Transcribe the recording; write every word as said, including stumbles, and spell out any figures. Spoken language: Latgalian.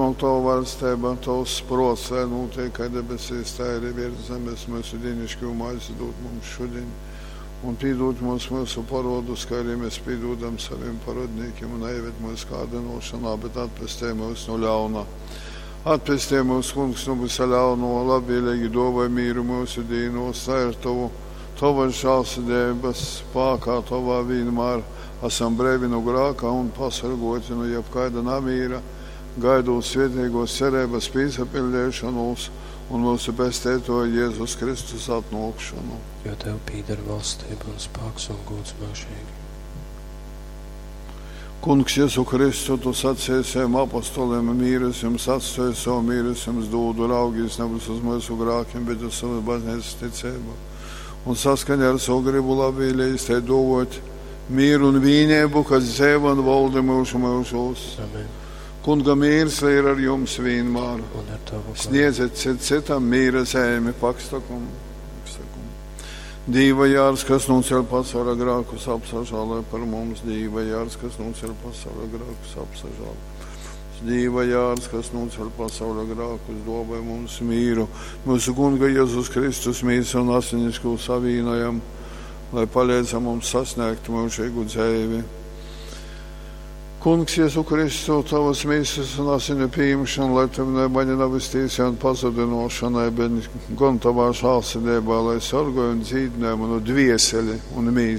atnōk tova vaļsteiba, tovs prōts, lai nūtiek kai debesīs, tai arī virs zemes. Myusu dīnišķū maizi dūd mums šudiņ, un pīdūd mums myusu parodus, kā arī mēs pīdūdam saviem parodnīkiem, un neieved mūsu kārdinošanā, bet atpestej mūs no ļauna. Atpestej mūs, Kungs, no visa ļauno, labvēlīgi dāvāj mīru mūsu dīnos, lai ar tavu, tavas žēlsirdības spākā tovā vienmēr esam breivi no grāka un pasargoti no jebkaida namīra, gaidot svētīgos cerības pīsapildīšanos un mūsu pestētoja Jēzus Kristus atnākšanu. Jo tev pīder valstība un spāks un gods mūžīgi. Kungs, Jēzu Kristu, tu sacīji saviem apostoliem, mīrus jums atstāju savu mīrus jums dūdu, raugīs nevis uz mūsu grākiem, bet uz savu baznīcas ticību. Un saskaņā ar savu gribu labvēlīgi te dovot mieru un vīnību, kas dzīvo un valda mūžu mūžos. Amen. Kunga mīrs lai ir ar jums vienmēr. Un ar tavu garu. Sniedziet cit citam mīra zemi, pakstakumu. Pakstakumu. Dīva jārs, kas noceļ pasaules grākus, apsažālē par mums. Dīva jārs, kas noceļ pasaules grākus, apsažālē. Dīva jārs, kas noceļ pasaules grākus, dāvā mums mīru. Mūsu Kunga Jēzus Kristus mīsu un asinisko savīnojam, lai palīdz mums sasniegt mūžīgu dzīvi. Kungs, Jēzu Kristu, tavas mīsas un asinu pieņemšanu, lai tev ne mani nav iztīsīja un pazudinošanai, bet gan tavā žēlsirdībā, lai sargāj un dzīdināj manu dvieseli un mīsu.